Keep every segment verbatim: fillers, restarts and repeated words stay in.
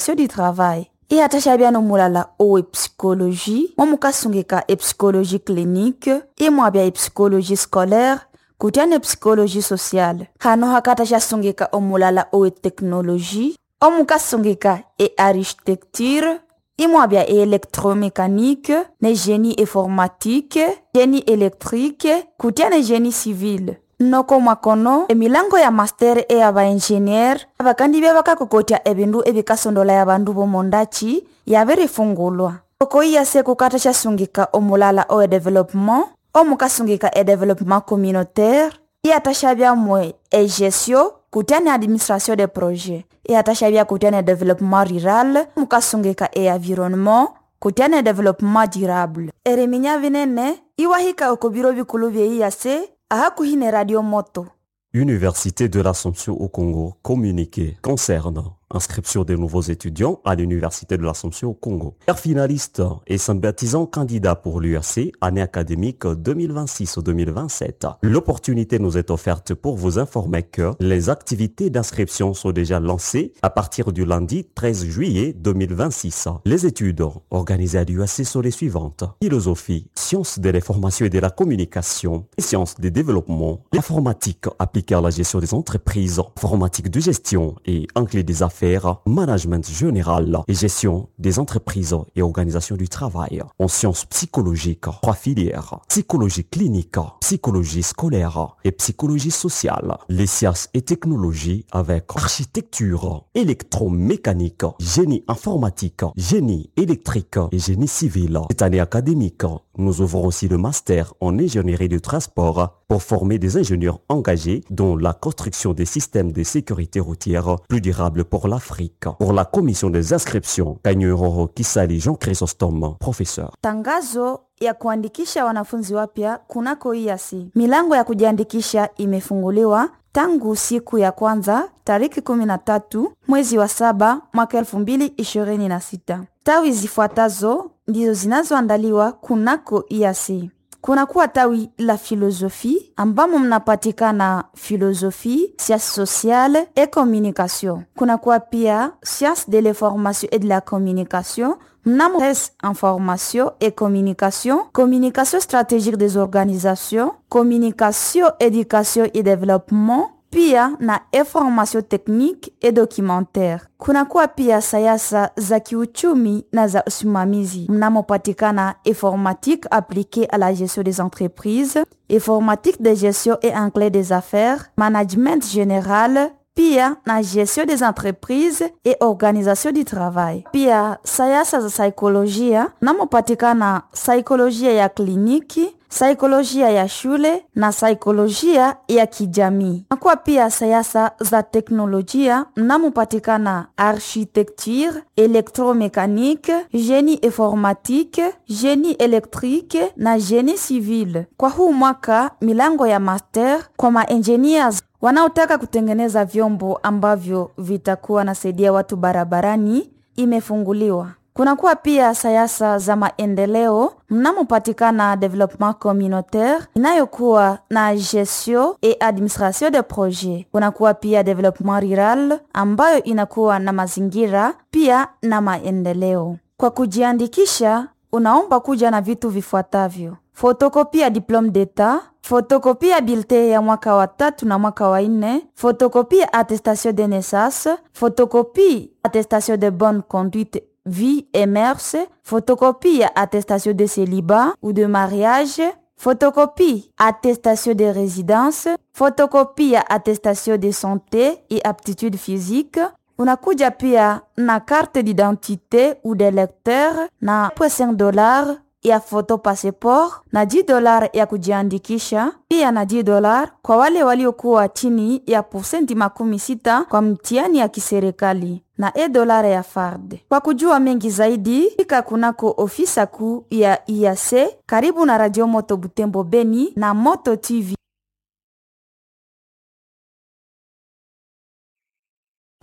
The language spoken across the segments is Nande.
Du travail. Iyathashabya nomulala owe psychologie momukasungika epsychologie clinique, imwabya epsychologie scolaire kutya ne psychologie sociale. Hano hakathashyasungika omulala owe technologie omukasungika e-architecture, imwabya e-électromécanique ne génie informatique, génie électrique kutya ne génie civil. Noko mwakono emilango ya master ey'abaengineer abakandibya bakakokotya ebindu ebikasondolaya abandu b'omondachi yabirifungulwa. Oko I A C kukathashyasungika omulala owe développement omukasungika e développement communautaire, iyathashabyamu egestion kutya ne administration de projet, iyathashabya kutya ne développement rural mukasungika e-environnement kutya ne développement durable. Eriminya binene iwahika oko biro bikulu bye I A C ahakuhi ne Radio Moto. Université de l'Assomption au Congo, communiqué concernant inscription des nouveaux étudiants à l'Université de l'Assomption au Congo. Finaliste et sympathisant candidat pour l'U A C, année académique deux mille vingt-six-deux mille vingt-sept. L'opportunité nous est offerte pour vous informer que les activités d'inscription sont déjà lancées à partir du lundi treize juillet deux mille vingt-six. Les études organisées à l'U A C sont les suivantes. Philosophie, sciences de l'information et de la communication, sciences des développement, informatique appliquée à la gestion des entreprises, informatique de gestion et anglais des affaires, management général et gestion des entreprises et organisation du travail. En sciences psychologiques, trois filières, psychologie clinique, psychologie scolaire et psychologie sociale. Les sciences et technologies avec architecture, électromécanique, génie informatique, génie électrique et génie civil. Cette année académique, nous ouvrons aussi le master en ingénierie du transport pour former des ingénieurs engagés dans la construction des systèmes de sécurité routière plus durables pour l'Afrique. Pour la commission des inscriptions, Kanyuroro Kisali Jean Chrysostome, professeur. Tangazo ya kuandikisha wanafunzi wapya kunako I A C. Milango ya kujiandikisha imefunguliwa tangu siku ya kwanza tariki kumi na tatu mwezi wa saba mwaka elfu mbili ishirini na sita. Tawi zifuatazo ndizo zinazoandaliwa kunako I A C. Kunakuwa tawi la philosophie ambamo mnapatikana philosophie, sciences sociales et communication. Kunakuwa pia sciences de l'information et de la communication mnamo res information et communication, communication stratégique des organisations, communication, éducation et développement, pia na information technique et documentaire. Kunakuwa pia sayansa za kiuchumi na za usimamizi mnamopatikana informatique appliquée à la gestion des entreprises, informatique de gestion et anglais des affaires, management général, pia na gestion des entreprises et organisation du travail. Pia sayansa za saikolojia mnamopatikana saikolojia ya kliniki, saikolojia ya shule na saikolojia ya kijamii. Nakuwa pia sayansa za teknolojia mnamopatikana architecture, électromécanique, génie informatique, génie électrique na génie civil. Kwa huu mwaka milango ya master kwa maengineers wanaotaka kutengeneza vyombo ambavyo vitakuwa nasaidia watu barabarani imefunguliwa. Kunakuwa pia sayansa za maendeleo mnamopatikana développement communautaire inayokuwa na gestion et administration de projet. Kunakuwa pia développement rural ambayo inakuwa na mazingira pia na maendeleo. Kwa kujiandikisha, unaomba kuja na vitu vifuatavyo: photocopie ya diplôme d'état, photocopie ya bulletin ya mwaka wa tatu na mwaka wa nne, photocopie ya attestation de naissance, photocopie attestation de bonne conduite, vie et mœurs, photocopie ya attestation de célibat ou de mariage, photocopie attestation de résidence, photocopie ya attestation de santé et aptitude physique. Unakuja pia na carte d'identité ou d'électeur na cinq dollars ya photo passeport na dix dollars ya kujiandikisha, pia na dix dollars kwa wale waliokuwa chini ya posenti makumi sita kwa mtihani ya kiserikali na un dollar ya farde. Kwa kujua mengi zaidi, fika kunako ofisa kuu ya I A C karibu na Radio Moto Butembo Beni na Moto T V.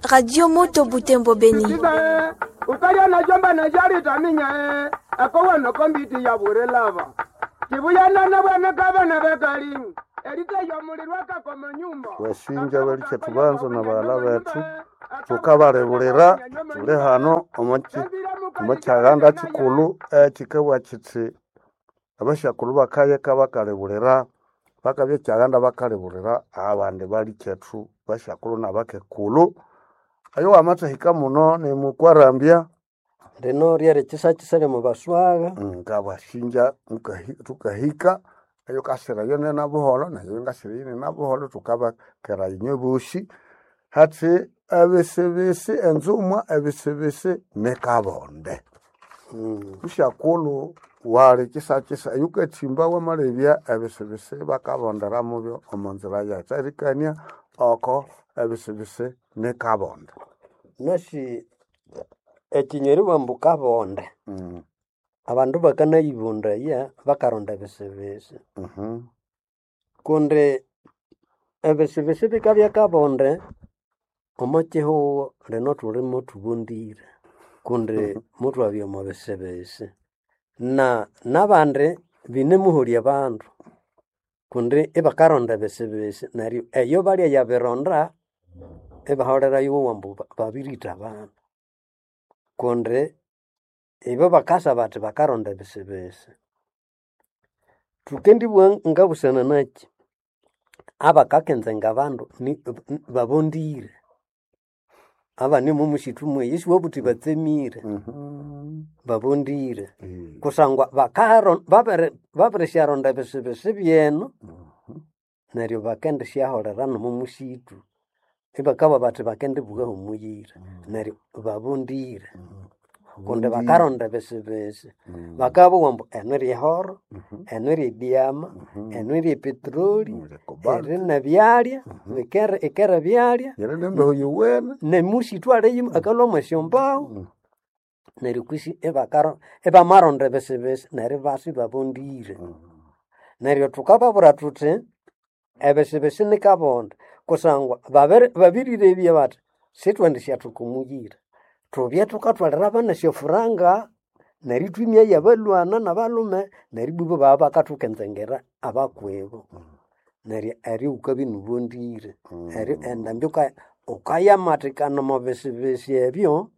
Radio Moto Butembo Beni. Ukalya na jomba na jari taminya e akowa no kombiti ya burelava tibuyanana bwana kabana bekali. Wasinja balikya tubanza na baghala bethu tukabalebulira tuli hano omo kyaganda kikulhu ekikabugha kithi abasyakulhu bakayeka bakalebulira bakabya ekyaganda bakalebulira abandi balikyethu basyakulhu nabakekulhu. Oyo wamathahika muno nimukwarambya. Lino ryeri kyisakisa lyomo baswagha. Ngabasinja thukahika eyo kasira nina buholho nayo ngasira nina buholho thukabakera inywe bosi hathi ebisibisi enzumwa ebisibisi nikabonde. Musyakulhu wali kyisakisa eyukathimba wamalebya ebisibisi bakabondera mubyo omo nzira yetherikania oko ebisibisi nikabonde. Nasi ekinywa eribugha ambu kabonde, abandu bakanayibundaya bakaronda ebisibisi. Kundi ebisibisi bikabya kabonde omo kihugho lino thuli muthubundire kundi muthwabya omo bisibisi. Na nabandi binemuholya abandu kundi ibakaronda ebisibisi neryo eyo balya yabironda ibaholerayo ambu babiritha abandu. Kundi ibo bakasa bathi bakaronda ebisibisi. Thukendibugha ngabusana naki, abakakenzenga abandu babondire. Abandi omo musithu mweyi isiwabugha wuthi batsemire, babondire. Kusangwa babirisyaronda ebisibisi byenu neryo bakendisyaholera nomo musithu. Ibakabugha bathi bakendibughaho omuyira neryo babondire. Kundi bakaronda ebisibisi. Bakabugha ambu enu iri ehoro, enu iri edyama, enu iri epetroli, eri nebyalya, ikere ebyalya, Eri nembeho yuwene. Nemusithu aliyo akalhwamu esyombahu. Neryo kwisi ibamaronda ebisibisi neryo ibasa ibabondire. Neryo thukababwira thuthi ebisibisi nikabonde kusangwa babirirebya bathi sithwendisyathwika omuyira. Thubye thukathwalira abana esyofuranga neryo ithwimyayo abalhwana nabalhume neryo ibwa ibabya bakathukenzengera abakwibo. Neryo eryo wukabya inubondire. Eryo endambi wukayamathikana omo bisibisi ebyo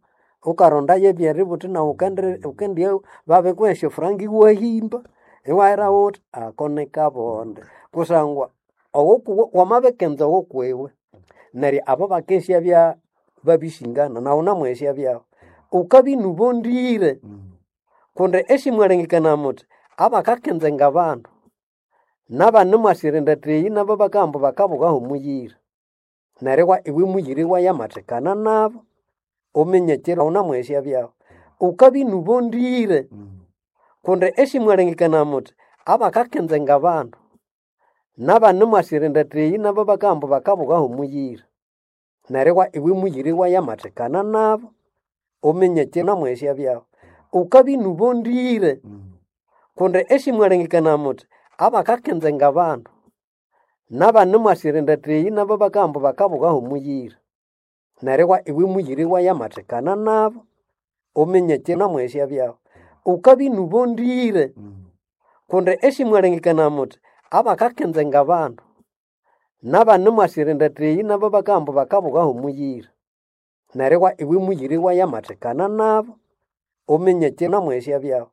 wukarondayo ebyeributhi nawu wukendibya babirikuha esyofuranga iwahimba iwahera wuthi ako nikabonde. Kusangwa wamabikenza owokwiwe neryo abo bakesyabya babisingana nawu wunamwesyabyahu. Wukabya inubondire kundi esimwalengekania muthi abakakenzenga abandu nabandi mwasirinda eyi nabo bakabugha ambu bakabughaho omuyira. Neryo iwe muyira iwayamathikana nabo wuminye ekiro wunamwesyabyahu. Wukabya inubondire kundi esimwalengekania muthi abakakenzenga abandu nabandi mwasirinda eyi nabo bakabugha ambu bakabughaho omuyira. Neryo iwe muyira iwayamathikana nabo wuminye ekiro wunamwesyabyahu. Wukabya inubondire kundi esimwalengekania muthi abakakenzenga abandu nabandi mwasirinda eyi nabo bakabugha ambu bakabughaho omuyira. Neryo iwe muyira iwayamathikana nabo wuminye ekiro wunamwesyabyahu. Wukabya inubondire kundi esimwalengekania muthi abakakenzenga abandu nabandi mwasirinda eyi nabo bakabugha ambu bakabughaho omuyira. Neryo iwe muyira iwayamathikana nabo wuminye ekiro wunamwesyabyahu.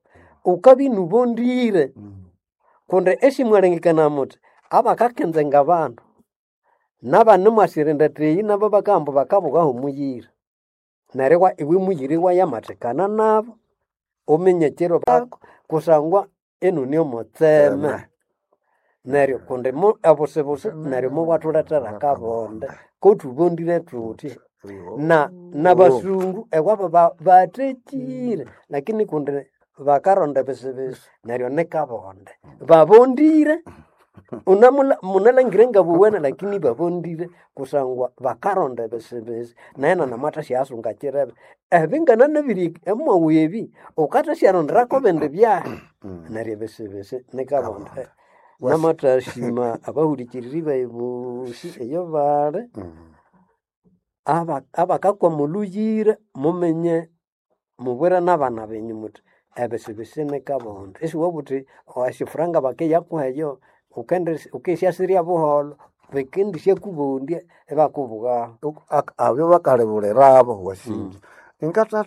Wukabya inubondire kundi esimwalengekania muthi abakakenzenga abandu nabandi mwasirinda eyi nabo bakabugha ambu bakabughaho omuyira. Neryo iwe muyira iwayamathikana nabo wuminye ekiro kusangwa inune omutseme. Neryo kundi obusibusi neryo mubwathulethera akabonde kothubondire thuthi. Na nabasungu ewabo bathekire lakini kundi bakaronda ebisibisi neryo nikabonde. Babondire munalangire ngabuwene lakini babondire kusangwa bakaronda ebisibisi nahena namathasyahasonga kirebe. Ebingananabiri emwaghu ebi wukathasyaronderaku ebindi byahi neryo ebisibisi nikabonde. Namathasima abahulikiriri bayi bosi eyo bali abakakwama olhuyira muminye mubwire nabana benyu muthi ebisibisi nikabonde. Isiwabugha wuthi esyofuranga bakiyakuha eyo Ukende ukesyasirya buholho bikendishyakubondya ibakubughaho. Abyo bakalibulirabo wasinja. Ingathatha